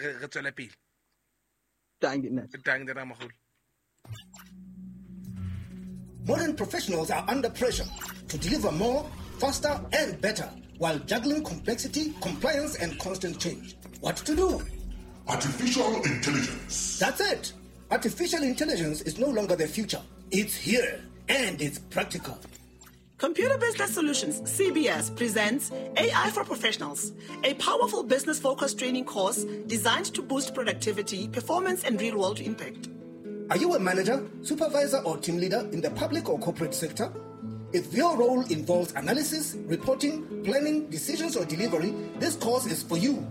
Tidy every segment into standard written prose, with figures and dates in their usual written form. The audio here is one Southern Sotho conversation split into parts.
re tswele pele. Dankie, ntate. Dankie, ntate Ramagolo. Modern professionals are under pressure to deliver more, faster, and better while juggling complexity, compliance, and constant change. What to do? Artificial intelligence. That's it. Artificial intelligence is no longer the future. It's here, and it's practical. Computer Business Solutions, CBS, presents AI for Professionals, a powerful business-focused training course designed to boost productivity, performance, and real-world impact. Are you a manager, supervisor, or team leader in the public or corporate sector? If your role involves analysis, reporting, planning, decisions, or delivery, this course is for you.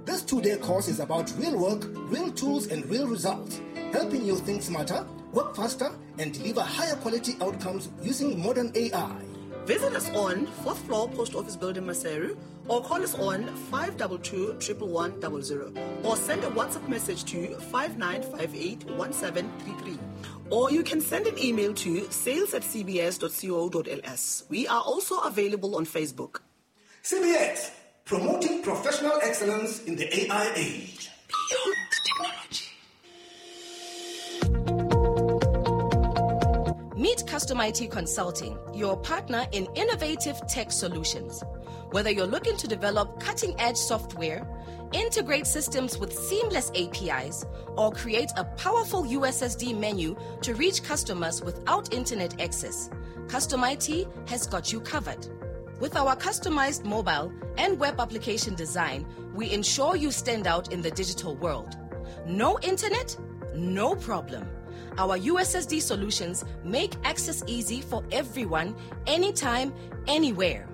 This 2-day course is about real work, real tools, and real results, helping you think smarter, work faster, and deliver higher quality outcomes using modern AI. Visit us on 4th floor Post Office Building, Maseru, or call us on 522 11100, or send a WhatsApp message to 5958 1733. Or you can send an email to sales@cbs.co.ls. We are also available on Facebook. CBS, promoting professional excellence in the AI age. Beyond technology. Meet Custom IT Consulting, your partner in innovative tech solutions. Whether you're looking to develop cutting-edge software, integrate systems with seamless APIs, or create a powerful USSD menu to reach customers without internet access, Custom IT has got you covered. With our customized mobile and web application design, we ensure you stand out in the digital world. No internet? No problem. Our USSD solutions make access easy for everyone, anytime, anywhere.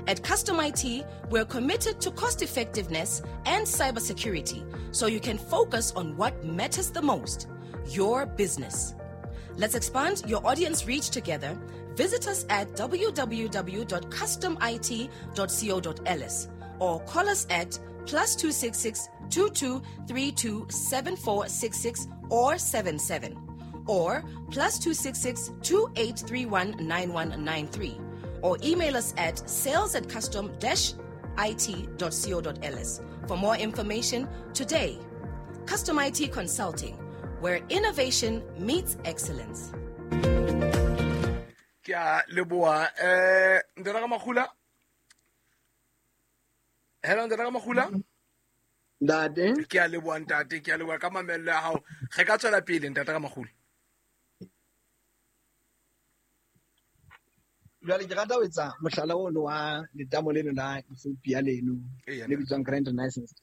At Custom IT, we're committed to cost effectiveness and cybersecurity, so you can focus on what matters the most, your business. Let's expand your audience reach together. Visit us at www.customit.co.ls or call us at +266 22 32 7466 or 77 or +266 2831 9193 or email us at sales@custom-it.co.ls for more information today. Custom IT Consulting, where innovation meets excellence. Ke a leboha. Ntate Ramagula? Hello, Ntate Ramagula? Ntate. Ke a leboha, ntate. Ke a leboha ka mamello ya hao. Re ka tswela pele, Ntate Ramagula. Jwale ke rata ho etsa mohlala ono wa letamo leno la Ethiopia leno, le bitswang Grand Renaissance.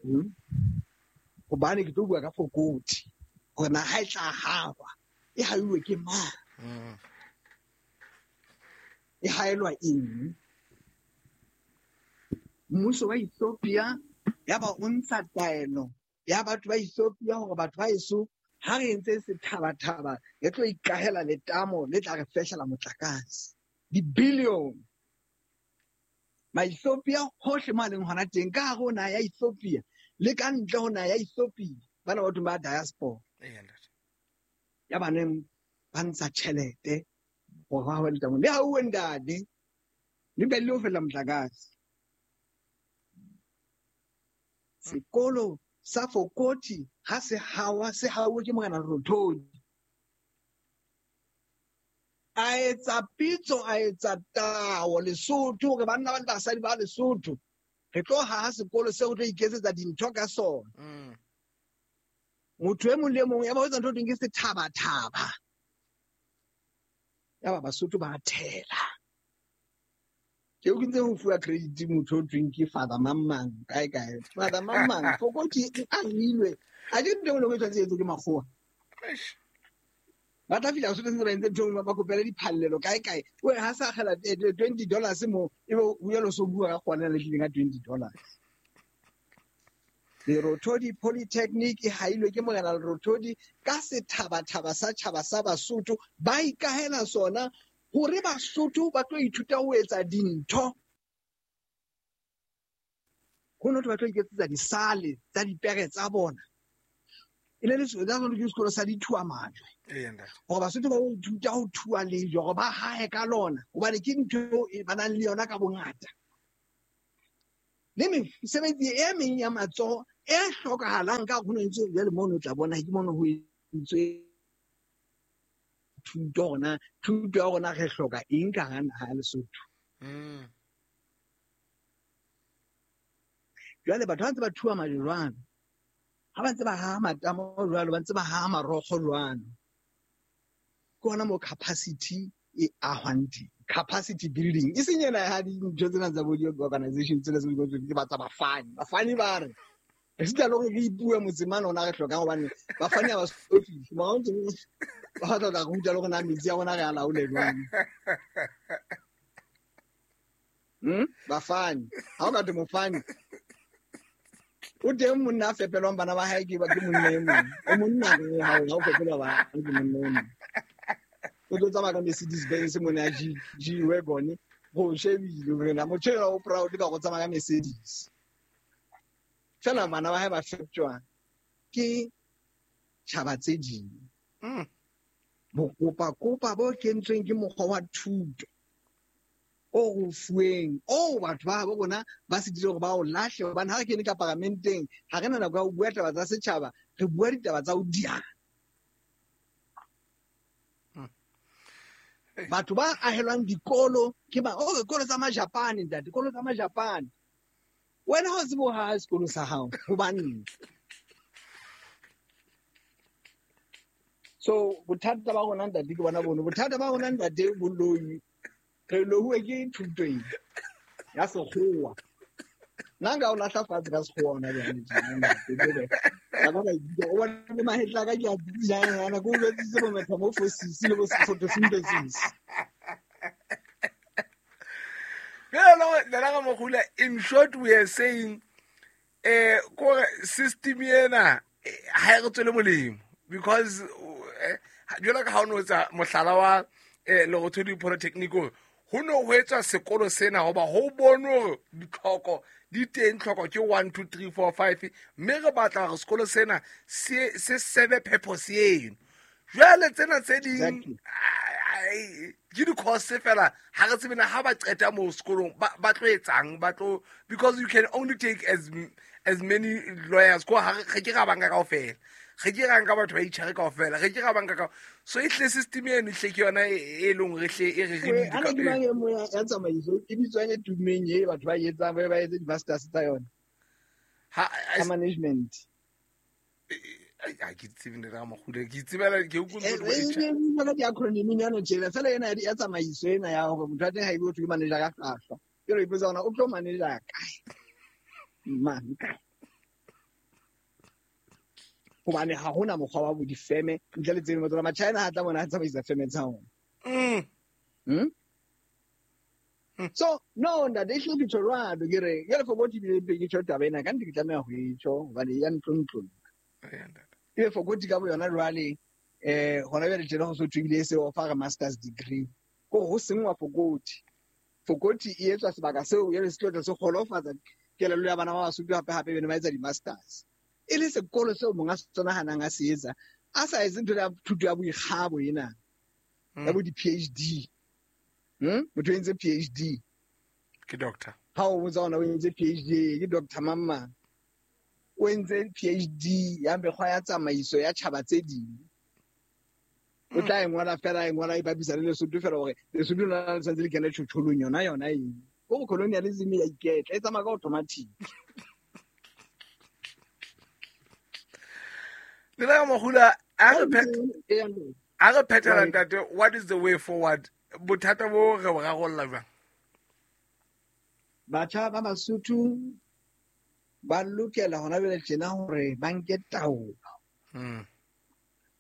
Hobane ke tlo bua ka Fokoti, hore na ha e tla hawa, e hauwe ke mang? E haelwa eng? Mmuso wa Ethiopia ya ba o ntsha taelo ya batho ba Ethiopia hore batho ba eso ha re entse sethabathaba re tlo ikahela letamo le tla re fehlela motlakase. Di-billion. Ma-Ethiopia hohle mo a leng hona teng, ka hare ho naha ya Ethiopia le ka ntle ho naha ya Ethiopia, bana batho ba diaspora. Ya ba neng ba ntsha tjhelete hore ba hawe letamo. Le hauwe ntate, le be le ho fela motlakase. Sekolo sa Fokoti ha se hawa, se hauwe ke Morena Rothodi. A etsa pitso, a etsa tao Lesotho, hore banna ba le basadi ba Lesotho, re tlo haha sekolo seo re tlo iketsetsa dintho ka sona. Motho e mong le e mong ya ba ho etsa ntho e thweng ke sethabathaba. Ya ba Basotho ba thela. Ke o kentse ho fuwa credit motho o thweng ke Father mang mang, kae kae. Father mang mang, Fokoti e ahilwe. A ke ntho e nngwe e tshwanetse e etswe ke makgowa. Eish. Ba tla fihla Basotho ntse ba entse ntho e nngwe, ba kopele diphallelo kae kae. O re ha sa akgela, twenty dollars mo, ebe o ya lo so bua ka kgona le tlileng ka twenty dollars. Lerothodi Polytechnic e hailwe ke Morena Lerothodi ka sethabathaba sa tjhaba sa Basotho, ba ikahela sona hore Basotho ba tlo ithuta ho etsa dintho. Ho no thwe ba tlo iketsetsa disale tsa dipere tsa bona. E ne le ke sekolo sa dithuwa majwe. Ntate. Hore Basotho ba ithuta ho thua lejwe, hore ba hae ka lona, hobane ke ntho e ba nang le yona ka bongata. Le mesebetsi e meng ya matsoho e hlokahalang ka ho ntse jwale mono o tla bona ke mono ho entswe thuto rona, thuto ya rona re hloka eng ka hara naha ya Lesotho. Jwale batho ba ntse ba thuwa majwe jwalo, ha ba ntse ba haha matamo jwalo, ba ntse ba haha marokgo jwalo. Ke hona moo capacity e ahwang teng. Capacity building. E seng ena ya dintho tsena tsa bo di-organization tsena tse di ke ba tsa bafani. Bafani ba re, re sita le hore re ipue motseng mane ona re hlokang hobane bafani ha ba so fihle. Mara o ntse ba batla ho tla re ruta le hore na metsi a rona re a laole jwang. Bafani. Ha o ka thwe mofani, o teng monna a fepelwang bana ba hae ke monna e mong. O monna ke ha o fepelwa bana ke monna e mong. O tlo tsamaya ka Mercedes Benz mona ya G wagon, go shebile hore na motho enwa o proud ka go tsamaya ka Mercedes. Fela bana ba hae ba feptjwa ke tjhaba tse ding. Bokopakopa bo kentsweng ke mokgwa wa thuto o re fuweng, o batho ba habo rona ba sitilwe hore ba o lahle, hobane ha re kene ka paramenteng ha re na nako ya ho bua taba tsa setjhaba, re bua ditaba tsa ho diana. Batho ba ahelwang dikolo ke ba, oh, dikolo tsa Majapane, ntate, dikolo tsa Majapane. Wena ha o tsebe ho haha sekolo sa hao, hobaneng? So bothata ba rona ntate ke bona bono. Bothata ba rona ntate boloi. Re lohuwe ke thuto ena ya sekgowa. Nna nka o lahla fatshe ka sekgowa hona jwale tjena, ntate, ke re, ka ba ka ikutlwa, o bona le mahetla a ka ke a tsitsijang yana, ke o jwetsitse bo metamorphosis le bo photosynthesis. Bjale, Nana Ramokgula, in short we are saying, kore system ena, ha e re tswele molemo, because, jwalo ka ha o no etsa mohlala wa, Lerothodi Polytechnic, hore ho no ho etswa sekolo sena hoba ho bonwe hore ditlhoko di teng, tlhoko ke 1, 2, 3, 4, 5, mme re batla hore sekolo sena se serve purpose eno. Jwale tsena tse ding, ke di-course fela, ha re tsebe na ha ba qeta moo sekolong, ba tlo etsang, ba tlo, because you can only take as many lawyers, ko ha re ke ra banka kaofela, re ke ra nka batho ba HR kaofela, re ke ra banka ka, so e hle system eno hle ke yona e leng hore hle e re re Ee, ana ke mang e nngwe ya tsamaiso e bitswang e tummeng e batho ba e etsang, ba etse di-masters tsa yona? Ha, Tsa management. Ha ke tsebe ntate Ramokgula, ke itsebela, ke utlwe ntho e HR. E, di-acronym nyana tjena, fela ena ya tsamaiso ena ya hore motho wa teng ha ebe o thwe ke manager ka hlwahlwa. Ke re ipotsa hore o tlo manager kae? Mang kae? Hobane ha hona mokgwa wa bo difeme ntle le tseno, tsona Machina ha tla bona a tsamaisa feme tsa ona. So no ntate, e hlile ke tjho jwalo, ke re jwale for botho ebile ke tjho taba ena, ka nnete ke tlameha ho e tjho hobane ya ntlontlolla. Ebe for botho ka bo yona jwale, hona jwale tjena ho so thwe ebile e se offer master's degree. Ko ho senngwa Fokoti. Fokoti e etswa sebaka seo jwale se tlo tla se kgolofatsa kelello ya bana ba Basotho hape hape bene ba etsa di-masters. E le sekolo seo monga sona hanang a se etsa, a sa etse ntho ya thuto ya boikgabo ena, ya bo di-P H D. Motho o entse PhD. Ke doctor. Ha o botsa hona o entse PhD, ke doctor mang mang. O entse PhD ya mekgwa ya tsamaiso ya tjhaba tse ding. O tla e ngola fela, e ngola e bapisa le Lesotho fela hore Lesotho lona le tshwanetse le kene tjhotjholong yona, yona eng. Ko colonialism ya iketla, e tsamaya ka automatic. Ntate Ramokgula, a re phethela ntate, what is the way forward? Bothata bo re bo rarolla jwang? Batjha ba Basotho ba lokela hona jwale tjena hore ba nke taolo.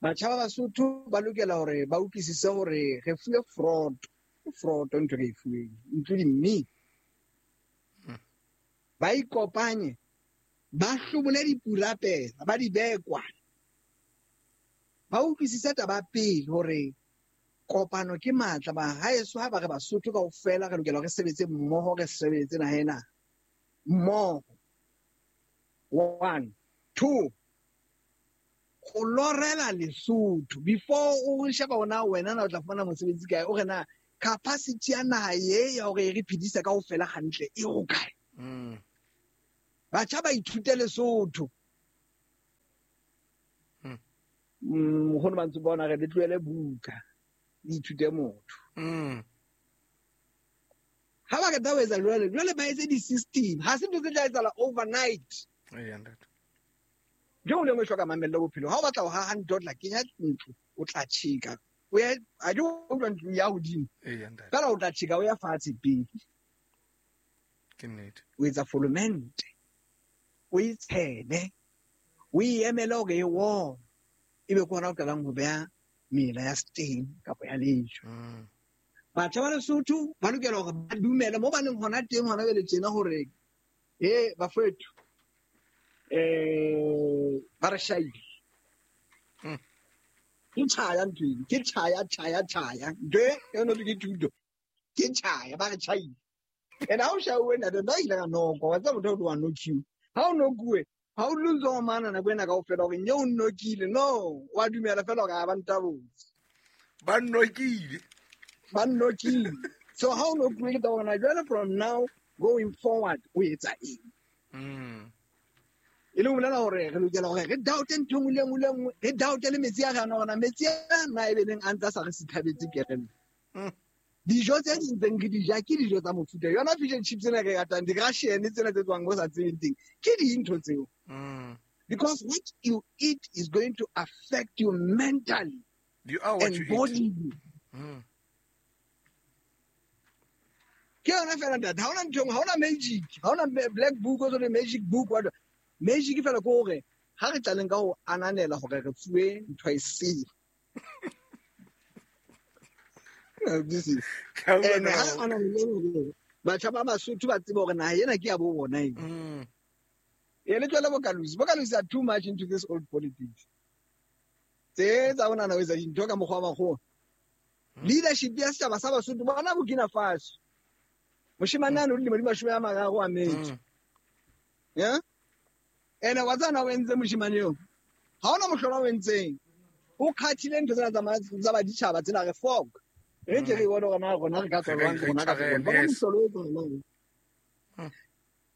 Batjha ba Basotho ba lokela hore ba utlwisise hore re fuwe fraud, fraud ntho re e fuweng, including me. Ba ikopanye, ba hlobole dipurapela, ba di behe kwana. Ba utlwisise taba pele hore kopano ke matla. Ba haeso ha ba re Basotho kaofela re lokela hore re sebetse mmoho, re sebetse naha ena mmoho. 1, 2, go lorela Lesotho before o sheba ona wena na o tla fumana mosebetsi kae, o re na capacity ya naha e ya hore e re phedise kaofela hantle e ho kae? Batjha ba ithute Lesotho. Nkgono ba ntse bona re le tlohele buka le ithute motho. Ha ba qeta ho etsa jwale, jwale ba etse di-system. Ha se ntho tse tla etsahala overnight. Ntho e nngwe le e nngwe e hloka mamello bophelong. Ha o batla ho haha ntho, o tla kenya ntlo, o tla tjheka. O ye, ha ke utlwa ntlo ya hodimo. Fela o tla tjheka o ya fatshe pele. Ke nnete. O etsa folomente. O e tshele. O e emele hore e wome. Ebe ke hona o qalang ho beha mela ya stain kapa ya lejwe. Batjha ba Lesotho ba lokela hore ba dumele mo ba leng hona teng hona jwale tjena hore bafethu ba re shaile. Ke tjhaya ntho eno, ke tjhaya, tjhaya, tjhaya. Ntho e yona ke thuto. Ke tjhaya, ba re tjhaile. And ha o shauwe ntate, nna ile ka nokwa, wa tseba motho o tlo wa nokiwa. Ha o nokuwe, ha o dule o ntse o mana nako ena kaofela hore nye o nnokile. No, wa dumela fela hore ha ba ntabotse. Ba nnokile. Ba nnokile. So ha o nokuwe ke taba hore na jwale from now going forward o etsa eng? E le ho bolela hore re lokela hore re doubte ntho e nngwe le nngwe le nngwe, re doubte le metsi a re a nwang, metsi a na e be neng a ntse a sa re sithabetse kereng. Dijo tse ding tse re di ja ke dijo tsa mofuta. Yona fish and chips tsena re ratang, di-Russian tsena tse tswang ho sa tsebeng teng, ke dintho tseo. Because what you eat is going to affect you mentally You are what and you eat. bodily. Ke yona fela ntate, ha hona ntho e nngwe, ha hona magic, ha hona black book, o tsone magic book, what magic fela ke hore ha re tlaleng ka ho ananela hore re fuwe ntho e sele. This is Ka and bona ha hore ananele hore batjha ba Basotho ba tsebe hore naha ena ke ya bo bona ena. E le tswele Bokalusi. Bokalusi are too much into this old politics. Tse tsa bona na ho etsa dintho ka mokgwa wa makgowa. Leadership ya setjhaba sa Basotho bona Burkina Faso. Moshemane a no dilemo di 30 a metso. Yeah? Ene wa tsana o entse moshemane eo. Ha hona mohlolo o entseng. O khathile ntho tsena tsa baditjhaba tsena re fok. Re ke re bone hore na rona re ka tswa jwang, rona ka Re tswa jwang. Bona yes. mohlolo o etsahalang.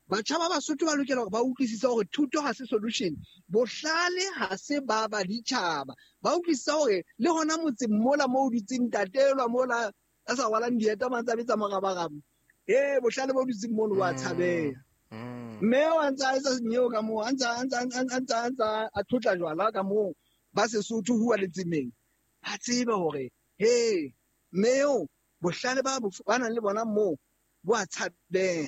Batjha ba Basotho ba lokela hore ba utlwisise hore thuto ha se solution. Bohlale ha se ba baditjhaba. Ba utlwisise hore le hona motseng mola moo o dutseng ntatelwa mola a sa rwalang dieta mantse a betsa morabaraba. Bohlale bo dutseng mono bo a tshabeha. Mme o a ntse a etsa nyeo ka moo, a ntse a tlotla jwala ka moo, ba Sesotho hua letsemeng. Ba tsebe hore, he, mme eo, bohlale ba nang le bona moo, bo a tshabeha.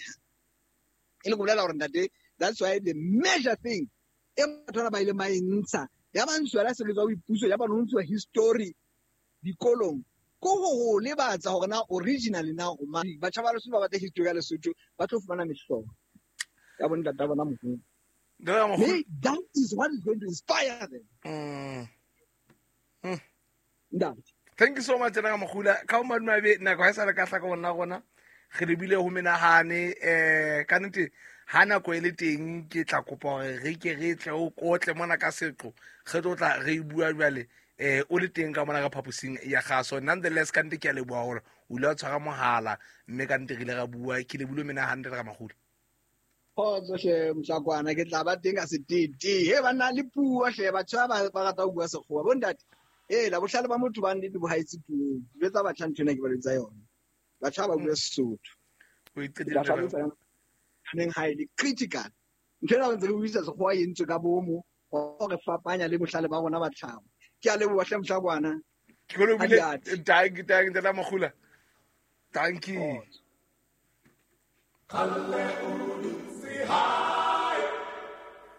E le go bolela hore ntate, that's why the major thing e batho bana ba ileng ba e ntsha, ya ba ntshuwa la sebetsa ho ipuso, ya ba no ntshuwa history dikolong, ko ho lebatsa hore na originally na o mang. Batjha ba Lesotho ba batla history ya Lesotho, ba tlo fumana mehlolo ya bo ntata bona moholo. Ntate Ramokgolo. Mme that is what is going to inspire them. Ntate. Thank you so much, Ntate Ramokgolo. Ka ho madimabe, nako ha e sa le ka hlaka ho nna rona. Re lebile ho menahane, ka nnete, ha nako e le teng, ke tla kopa hore re ke re tle o kotle mona ka seqo. Re tlo tla re bua jwale, o le teng ka mona ka phaposing ya kgaso. Nonetheless, ka nnete ke a leboha hore o ile wa tshwara mohala, mme ka nnete re ile ra bua. Ke lebile menahane, Ntate Ramokgolo. Kgotso hle, Mohlakwana, ke tla ba teng ka setete. He, banna le puo hle, batho ba rata ho bua sekgowa. Bo ntate, la bohlale ba motho ba nnete bo haetse puong. Jwetsa batjha ntho ena ke ba jwetsa yona. Batjha ba bua Sesotho. O Ke iqedile tla ntate. hlalosa yona. Neng ha e le critical. Ntho ena re ntse re buisa sekgowa e entswe ka bomo, ho re fapanya le bohlale ba rona ba tlhaho. Ke a leboha hle, Mohlakwana. Ke go lebile. Ha di ate. Thank you, thank you, Ntate Ramokgolo. Thank you. Kgotso. Kalle o dutse ha